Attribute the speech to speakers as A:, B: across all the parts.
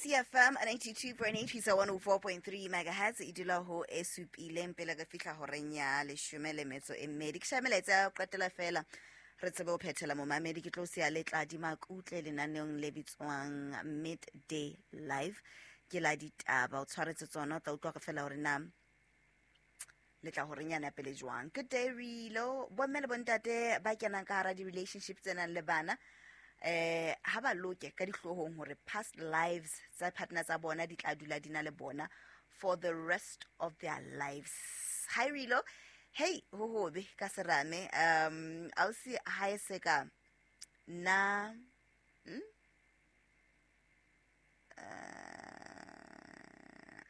A: Ikwekwezi FM 92.8 ho isa 104.3 megahertz e dula ho e supileng pele re fihla horeng ya leshome le metso e mmedi. Ke shaya melaetsa ya ho qetela feela re tsebe ho phethela momamedi. Ke tlo siya le Tladi Makutle lenaneong le bitswang Midday Live. Ke la ditaba, o tshwaretse tsona, o tla utlwa fela hore na le tla horeng yana pele jwang. Good day Rilo. Bomme le bontate ba kenang ka hara di-relationship tse nang le bana, ha ba loke ka dihloohong hore past lives tsa partner tsa bona di tla dula di na le bona for the rest of their lives. Hi Rilo. Hey, ho hobe ka serame. Ausi ha e se ka na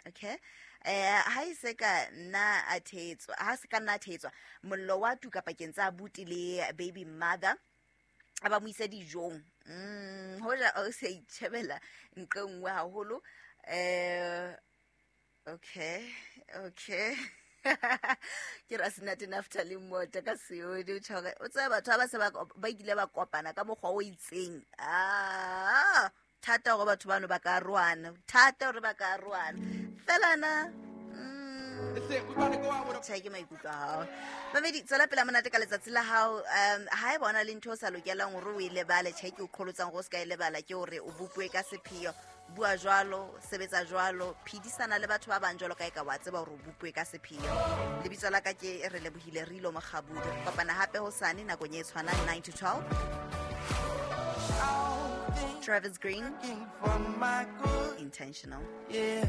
A: okay ha e se ka nna a thetswa, ha se ka nna a thetswa, mollo wa tuka pakeng tsa abuti le baby mother, a ba mo isa dijong. Hoja o se itjhebela nqe nngwe haholo. Okay ke ra senate Naftali Mota ka seodi o tjho hore o tseba batho ba se ba ile ba kopana ka mokgwa o itseng. Ah, thata hore batho bano ba ka arohana, thata hore ba ka arohana fela na. Tjhe, ke maikutlo a hao. Mamedi, tswela pela monate ka letsatsi la hao. Ha e bona le ntho o sa lokelang hore o e lebale, tjhe, ke o qholotsang hore o se ka e lebala, ke hore o bopuwe ka sepheo. Bua jwalo, sebetsa jwalo, phedisana le batho ba bang jwalo ka e ka wa tseba hore o bopuwe ka sepheo. Lebitso la ka ke re lebohile Rilo Mokgabudi. Re kopana hape hosane nakong e tshwanang 9 to 12. Travis Green,
B: For my good,
A: Intentional.
B: yeah.